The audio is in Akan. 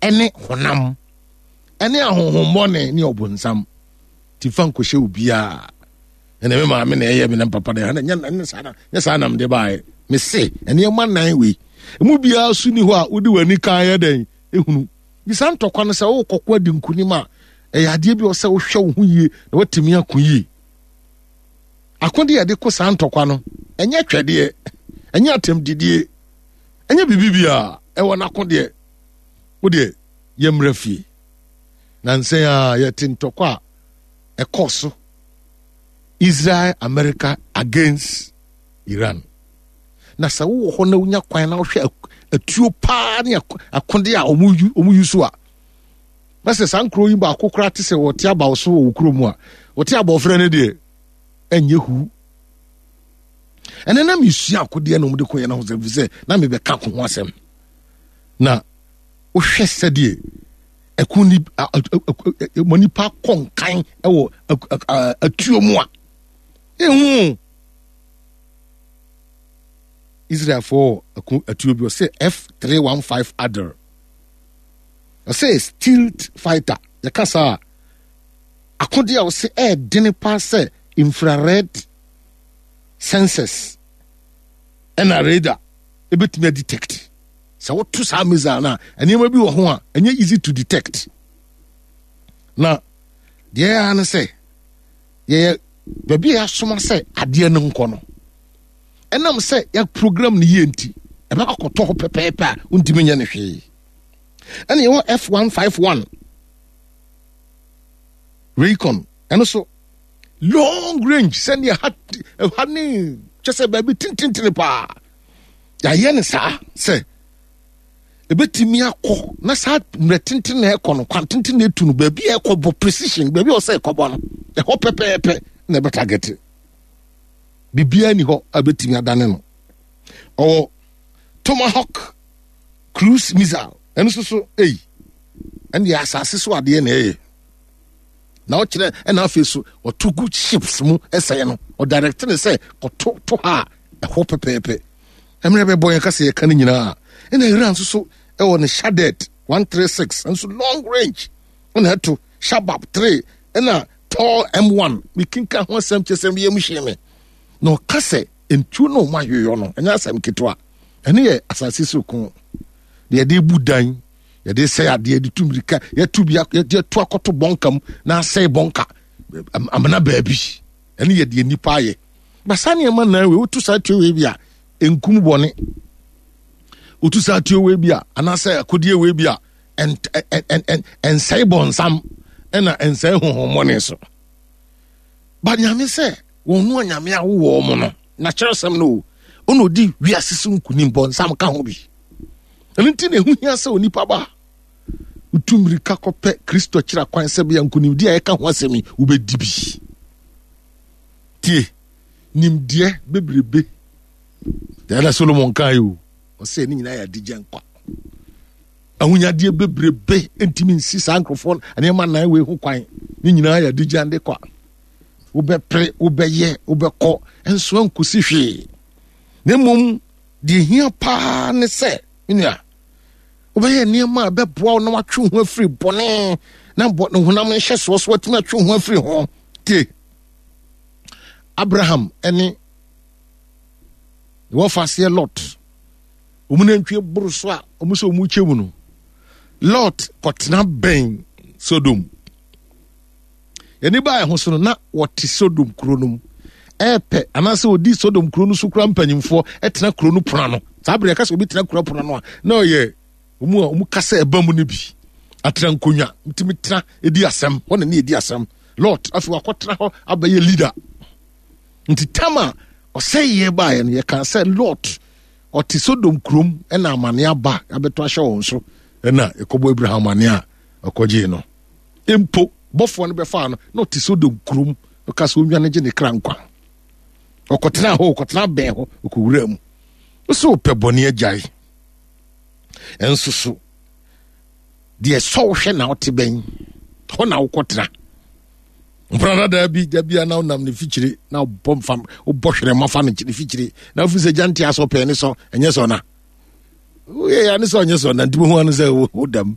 ɛne honam ɛne ahonhommɔne ne ɔbonsam. Ti fa nkɔhyɛ obiara. Ɛna me maame na ɛyɛ me na papa na ɛnyɛ ɛnyɛ saa na nyɛ saa na mede baeɛ. Me se nneɛma nan wei emu biara so ni hɔ a wode w'ani kan yɛ dɛn ehunu. Bisa ntɔkwa no sɛ wokɔkɔ adi nkunim a ɛyɛ adeɛ bi a ɔsɛ wohwɛ wo ho yie na watumi ako yie. Akode a yɛde ko saa ntɔkwa no ɛnyɛ twɛdeɛ, ɛnyɛ atɛmdidie, ɛnyɛ biribi biara ɛwɔ n'akodeɛ. Wo deɛ yɛmmra fie. Nansɛn a yɛte ntɔkwa a ɛkɔ so Israel America against Iran. Na sɛ wowɔ hɔ na wonya kwan na wohwɛ atuo paa ne akode a wɔn yi so a na sɛ saa nkuro yi baako koraa te sɛ wɔte abaw so wɔ wo kuro mu a wɔte abɔfra no deɛ ɛnyɛ hu. Ɛnɛ na mesua akodeɛ na wɔde koyɛ no ho sɛ sɛ na mebɛka ko ho asɛm. Na wohwɛ sɛdeɛ ɛko ni ma nipa kɔ nkan wɔ atuo mu a ehu Israelfoɔ ɛko atuo bi ɔsɛ F315 Adder ɔsɛ stealth fighter yɛka saa akodeɛ a ɔsɛ ɛɛdene paa sɛ infrared sensors ɛna radar ebetumi adetect. Sɛ woto saa missile no a, nneɛma bi wɔ ho a ɛnyɛ easy to detect. Na deɛ ɛyɛ ne sɛ yɛyɛ baabi a yɛasoma sɛ adeɛ no nkɔ no, ɛnam sɛ yɛ program no yie nti ɛbɛkɔ akɔtɔ hɔ pɛpɛɛpɛ a wontumi nyɛ no hwee. Ɛna yɛwɔ F151 Raycon ɛno so long range sɛdeɛ ha ha ne kyɛ sɛ baabi tententene paa. Yɛayɛ no saa sɛ ɛbɛtumi akɔ na saa mmerɛ tenten na ɛkɔ no kwan tenten na ɛtu no baabi a ɛkɔ bɔ precision baabi a ɔsɛ ɛkɔbɔ no ɛhɔ pɛpɛɛpɛ na ɛbɛtagɛte. Biribiara ni hɔ a bɛtumi adane no. Ɔwɔ Tomahawk cruise missile ɛno nso so ei ɛne deɛ asase so adeɛ na ɛyɛ na ɔkyerɛ ɛna afei so ɔto gu ships mu ɛsɛe no ɔdirect ne sɛ kɔto to ha a ɛhɔ pɛpɛɛpɛ. Mmerɛ bɛbɔ yɛn kasa yɛka no nyinaa ɛna Iran nso so ɛwɔ ne Shaddad 136 nso long range ɛna ɛto Shabab 3 ɛna Tor M1 mekinka ho asɛm kyɛ sɛ meyam hyee me na ɔka sɛ ntuo no ɔmo ahwehwɛ no ɛnyɛ asɛm ketewa. Ɛne yɛ asase so ko deɛ yɛde bu dan yɛde sɛe adeɛ de tu mirika yɛtu bi yɛde to akɔto bɔnka mu na asɛe bɔnka amena baabi. Ɛne yɛ deɛ nipa ayɛ. Ba saa nneɛma nan wei wotu saa tuo wei bi a nkum bɔne. Wotu saa tuo wei bi a anaasɛ akodie wei bi a ɛnsɛe bɔnsam ɛna ɛnsɛe honhommɔne so. Ba nyame sɛ wɔn no anyame a wowɔ wɔn no na kyerɛsɛm no o ɔna ɔdi wiase so nkunim bɔnsam ka ho bi. Ɛno nti na ɛho hia sɛ onipa ba wotu mmirika kɔpɛ Kristo akyira kwan sɛ bia nkunimdi a ɛka ho asɛm yi wobɛdi bi. Tie nimdeɛ bebrebe deɛ na Solomon kaa yi o ɔsɛ ne nyinaa yɛ adigya nkwa. Ahonyadeɛ bebrebe ntumi nsi saa nkurɔfoɔ nneɛma nan wei ho kwan. Ne nyinaa yɛ adigya nde kwa. Wobɛpere wobɛyɛ wobɛkɔ nso ankosi hwee. Na mmom deɛ hia paa ne sɛ menua wobɛyɛ nneɛma a ɛbɛboa wo na watwe wo ho afiri bɔne na bɔ ne honam nhyɛsoɔ so watumi atwe wo ho afiri ho. Tie Abraham ne wɔfa aseɛ Lot wɔn nantwie boro so a wɔn sɛ wɔn kyɛ mu no Lot kɔtena bɛn Sodom. Yɛne baa ɛho so no na wɔte Sodom kuro no mu ɛɛpɛ anaasɛ wɔdi Sodom kuro no so kura mpanyinfoɔ ɛtena kuro no pono ano. Saa bere yɛka sɛ obi tena kuro pono ano a na ɔyɛ wɔn a wɔn kasa ɛba mu no bi atena nkonnwa ntumi tena edi asɛm hɔ na ne edi asɛm. Lot afei wakɔtena hɔ abɛyɛ leader. Nti tam a ɔsɛeɛ baeɛ no yɛka sɛ Lot ɔte Sodom kurom ɛna amane aba abɛtɔ ahyɛ wɔn so ɛna ɛkɔbɔ Abraham amane a ɔkɔgyee no. Mpo bɔfoɔ no bɛfaa no na ɔte Sodom kurom ɔka sɛ ɔnwane gye ne kra nkwa. Ɔkɔtena hɔ ɔkɔtena bɛn hɔ ɔkɔwura mu. Wosɛ wopɛ bɔne agyae ɛnso so deɛ sɔ wohwɛ na wote bɛn hɔ na wokɔtena. Mpena dadaa bi da bia na wonam ne fikyire na wobɔ mfa wobɔ hwerɛma fa ne fikyire na wofi sɛ gya nte asɔ pɛɛ ne sɔ ɛnyɛ sɔ na woyɛ ya ne sɛ ɔnyɛ sɔ na nti bohu ano sɛ wodam.